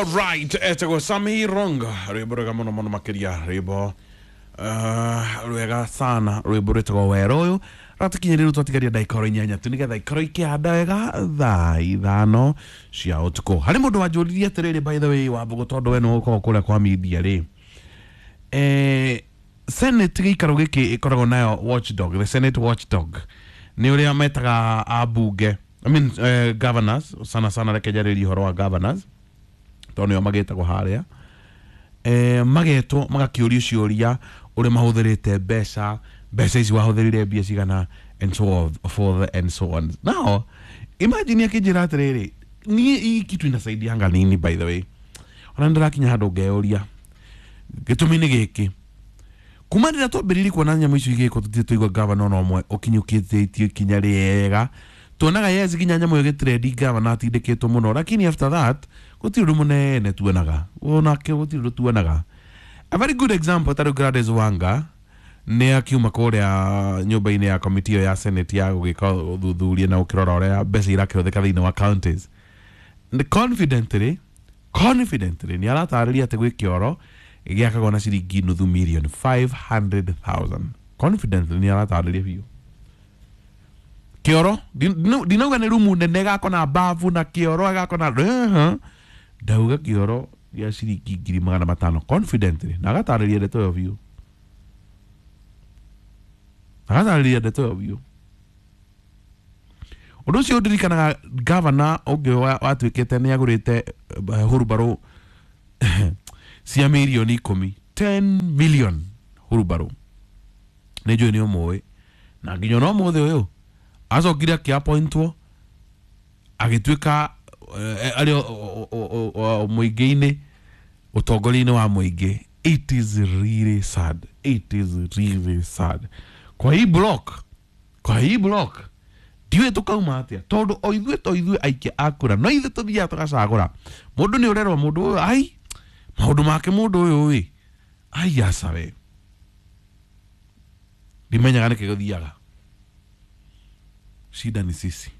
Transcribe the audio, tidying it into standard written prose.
Alright, etagwo Sami Ronga, rwimbo rwega muno muno makiria, rwimbo rwega sana, rwimbo rwĩtagwo Wero. Ũyũ ratukinyĩrĩru twatigaria ndagĩka oro 8 tu nĩgetha ikorwo ikĩhanda wega thaa 5 cia ũtukũ. Harĩ mũndũ wanjũririe atĩrĩrĩ, by the way, Wambũgũ, tondũ we nĩwe ũkoragwo kũrĩa kwa media rĩ, Senate gĩikaro gĩkĩ ĩkoragwo nayo watchdog, the Senate watchdog nĩ ũrĩa metaga ambunge, I mean, governors sana sana. Reke njarĩrie ũhoro wa governors tondũ nĩo magĩtagwo harĩa, magetwo magakĩũrio ciũria ũrĩa mahũthĩrĩte mbeca, mbeca ici wahũthĩrire mbia cigana, and so on, forth and so on. Now imagine akĩnjĩra atĩrĩrĩ, niĩ hii kitu inasaidianga nini? By the way, ona ndĩrakinya handũ ngeyũria gĩtũmi nĩ gĩkĩ. Kuma rĩrĩa twambĩrĩirie kuona nyamũ icio igĩkwo, tũtirĩ twaigua gavana ona ũmwe ũkinyũkĩtie ikinya rĩega. Tuonaga, yes, nginya nyamũ ĩyo ĩgĩtrendi, gavana atindĩkĩtwo mũno, lakini after that gũtirĩ ũndũ mũnene tuonaga, onake gũtirĩ ũndũ tuonaga. A very good example, tarĩu Gladys Wanga nĩ akiuma kũrĩa nyũmba-inĩ ya komiti ĩyo ya Senate ya gũgĩka ũthuthuria na gũkĩrora ũrĩa mbeca irakĩhũthĩka thĩinĩ wa counties. Confidently nĩ aratarĩria atĩ gwĩ kĩoro gĩakagwo na ciringi nuthu million, 500,000. Confidently nĩ aratarĩria biũ kĩoro, ndinauga nĩ rumu nene ĩgakwo na bafu na kĩoro ĩgakwo na ndauga kĩoro gĩa ciringi 500,000, confidently, na agatarĩria ndeto ĩyo biũ, agatarĩria ndeto ĩyo biũ. Ũndũ ũcio ũndirikanaga gavana ũngĩ watuĩkĩte nĩ agũrĩte hurubarũ cia mirioni 10, 10 million hurubarũ. Nĩ njũĩ nĩ ũmũĩ, na nginya ona ũmũthĩ ũyũ acokire akĩapointwo agĩtuĩka arĩ mũingĩ-inĩ, ũtongoria-inĩ wa mũingĩ. It is really sad, it is really sad. Kwa hii block, kwa hii block ndiũĩ tũkauma atĩa, tondũ o ithuĩ to ithuĩ aikia a kura, no ithuĩ tũthiaga tũgacagũra mũndũ. Nĩ ũrerwo mũndũ ũyũ, ai, maũndũ make mũndũ ũyũ ĩ, ai, aca we, ndimenyaga nĩkĩ gũthiaga. Shida ni sisi.